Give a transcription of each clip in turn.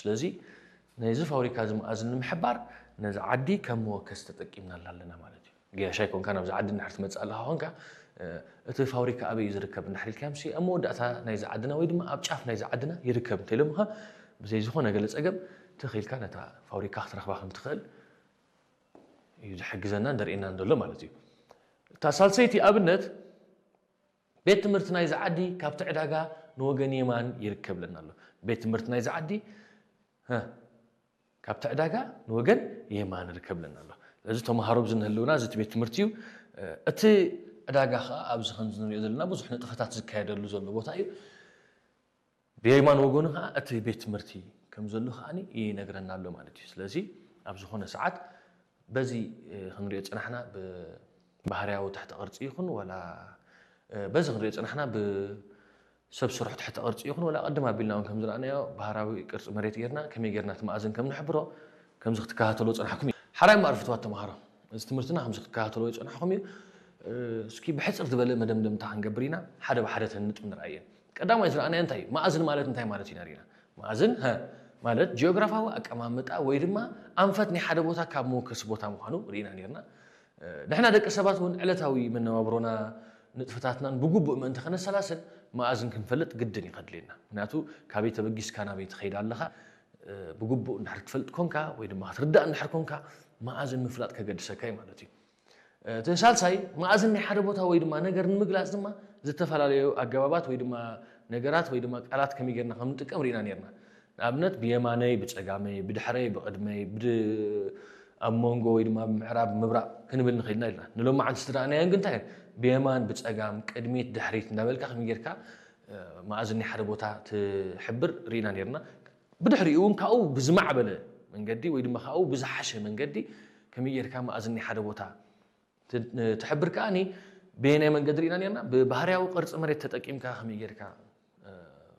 ስለዚ ነዚ ፋብሪካ እዚ መኣዝን ንምሕባር ነዚ ዓዲ ከም መወከሲ ተጠቂምናላ ኣለና ማለት እዩ። ገያሻይ ኮንካ ናብዚ ዓዲ እንድሕር ትመፅእ ኣለኻ ኮንካ፣ እ፣ እቲ ፋብሪካ ኣበይ እዩ ዝርከብ እንድሕር ኢልካዮም ሲ፣ ኣብ መወዳእታ ናይዚ ዓድና ወይ ድማ ኣብ ጫፍ ናይዚ ዓድና ይርከብ እንተኢሎምኻ፣ ብዘይ ዝኾነ ገለ ፀገም ትኽ ኢልካ ነታ ፋብሪካ ክትረኽባ ከም ትኽእል እዩ ዝሕግዘናን ዘርእየናን ዘሎ ማለት እዩ። እታ ሳልሰይቲ ኣብነት፣ ቤት ትምህርቲ ናይዚ ዓዲ ካብቲ ዕዳጋ ንወገን የማን ይርከብ ለና ኣሎ። ቤት ትምህርቲ ናይዚ ዓዲ፣ ሀ፣ ካብቲ ዕዳጋ ንወገን የማን ይርከብ ለና ኣሎ። ስለዚ ተምሃሮ ኣብዚ ንህልውና እዚ እቲ ቤት ትምህርቲ እዩ። እቲ ዕዳጋ ኸዓ ኣብዚ ከምዚ ንሪኦ ዘለና ብዙሕ ንጥፈታት ዝካየደሉ ዘሎ ቦታ እዩ። ብየማን ወገኑ ኸዓ እቲ ቤት ትምህርቲ ከም ዘሎ ኸዓ ይነግረና ኣሎ ማለት እዩ። ስለዚ ኣብ ዝኾነ ሰዓት በዚ፣ እ፣ ክንሪኦ ዝጸናሕና ብባህርያዊ ትሕተ ቅርጺ ይኹን ዋላ፣ እ፣ በዚ ክንሪኦ ዝጸናሕና ብሰብ ስራሕ ትሕተ ቅርጺ ይኹን ዋላ ቅድም ኣቢልና እውን ከም ዝረኣናዮ ባህራዊ ቅርጺ መሬት ጌርና ከመይ ጌርና እቲ መኣዝን ከም ንሕብሮ ከምዚ ክትከታተሎ ዝጸናሕኩም እዩ። ሓራይ እምበኣር ፍትዋት ተምሃሮ፣ እዚ ትምህርትና ከምዚ ክትከታተሎ ዝጸናሕኩም እዩ። እ፣ እስኪ ብሕጽር ዝበለ መደምደምታ ክንገብር ኢና። ሓደ ብሓደ ተንጥም ንርኣየን። ቀዳማይ ዝረኣናዮ እንታይ እዩ? መኣዝን ማለት እንታይ ማለት ኢና ርኢና። መኣዝን፣ ሀ፣ ማለት ጂኦግራፋዊ ኣቀማምጣ ወይ ድማ ኣንፈት ናይ ሓደ ቦታ ካብ መወከሲ ቦታ ምዃኑ ርኢና ኔርና። እ፣ ንሕና ደቂ ሰባት እውን ዕለታዊ መነባብሮና ንጥፈታትናን ብግቡእ ምእንቲ ከነሰላስል መኣዝን ክንፈልጥ ግድን እዩ ከድልየና። ምክንያቱ ካበይ ተበጊስካ ናበይ ትኸይድ ኣለኻ፣ እ፣ ብግቡእ እንድሕር ትፈልጥ ኮንካ ወይ ድማ ክትርዳእ እንድሕር ኮንካ መኣዝን ምፍላጥ ከገድሰካ እዩ ማለት እዩ። እቲ ሳልሳይ መኣዝን ናይ ሓደ ቦታ ወይ ድማ ነገር ንምግላጽ ድማ ዝተፈላለዩ ኣገባባት ወይ ድማ ነገራት ወይ ድማ ቃላት ከመይ ጌርና ከም ንጥቀም ርኢና ኔርና። ንኣብነት ብየማነይ፣ ብጸጋመይ፣ ብድሕረይ፣ ብቕድመይ፣ ብድ-፣ ኣብ መንጎ ወይ ድማ ብምዕራብ፣ ምብራቕ ክንብል ንኽእል ኢና ኢልና። ንሎማዓንቲ ዝረኣናዮን ግን እንታይ እየን? ብየማን፣ ብጸጋም፣ ቅድሚት፣ ድሕሪት እንዳበልካ ከመይ ጌርካ፣ እ፣ መኣዝን ናይ ሓደ ቦታ ትሕብር ርኢና ኔርና። ብድሕሪኡ እውን ካብኡ ብዝማዕበለ መንገዲ ወይ ድማ ካብኡ ብዝሓሸ መንገዲ ከመይ ጌርካ መኣዝን ናይ ሓደ ቦታ ት-፣ ትሕብር ከኣኒ በየናይ መንገዲ ርኢና ኔርና? ብባህርያዊ ቅርጺ መሬት ተጠቂምካ ከመይ ጌርካ፣ እ፣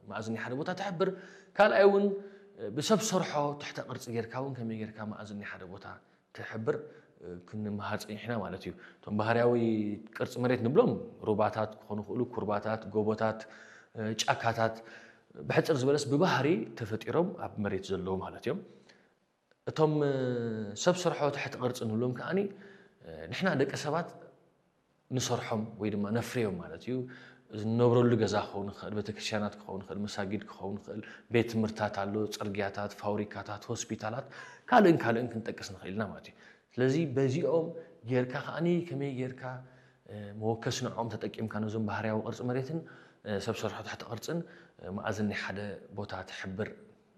መኣዝን ናይ ሓደ ቦታ ትሕብር? ካልኣይ እውን፣ እ፣ ብሰብ ሰርሖ ትሕተ ቅርጺ ጌርካ እውን ከመይ ጌርካ መኣዝን ናይ ሓደ ቦታ ትሕብር፣ እ፣ ክንመሃር ጸኒሕና ማለት እዩ። እቶም ባህርያዊ ቅርጺ መሬት ንብሎም ሩባታት ክኾኑ ይኽእሉ፣ ኩርባታት፣ ጎቦታት፣ እ፣ ጫካታት፣ ብሕጽር ዝበለስ ብባህሪ ተፈጢሮም ኣብ መሬት ዘለዉ ማለት እዮም። እቶም፣ እ፣ ሰብ ሰርሖ ትሕቲ ቅርጺ ንብሎም ከኣኒ፣ እ፣ ንሕና ደቂ ሰባት ንሰርሖም ወይ ድማ ነፍርዮም ማለት እዩ። እዚ ንነብረሉ ገዛ ክኸውን ይኽእል፣ ቤተክርስትያናት ክኸውን ይኽእል፣ መሳጊድ ክኸውን ይኽእል፣ ቤት ትምህርትታት ኣሎ፣ ጽርግያታት፣ ፋብሪካታት፣ ሆስፒታላት፣ ካልእን ካልእን ክንጠቅስ ንኽእል ኢና ማለት እዩ። ስለዚ በዚኦም ጌርካ ከኣኒ ከመይ ጌርካ፣ እ፣ መወከሲ ንዕኦም ተጠቂምካ ነዞም ባህርያዊ ቅርጺ መሬትን፣ እ፣ ሰብ ሰርሖ ትሕቲ ቅርጽን፣ እ፣ መኣዝን ናይ ሓደ ቦታ ትሕብር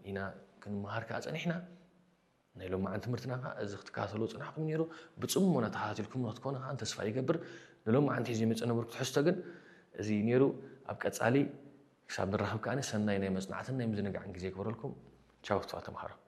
ኢና ክንመሃር ከኣ ጸኒሕና። ናይ ሎማዓንቲ ትምህርትና ከኣ እዚ ክትከታተልዎ ዝጸናሕኩም ነይሩ። ብጽሞና ተኸታቲልኩም ክትኮኑ ከኣ ተስፋ ይገብር። ንሎማዓንቲ ሒዘ ዝመጸ ነበርኩ ትሕዝቶ ግን እዚ ነይሩ። ኣብ ቀጻሊ ክሳብ ንራኸብ ከኣ ሰናይ ናይ መጽናዕትን ናይ ምዝንጋዕን ግዜ ይግበረልኩም። ቻው ፍትዋት ተምሃሮ።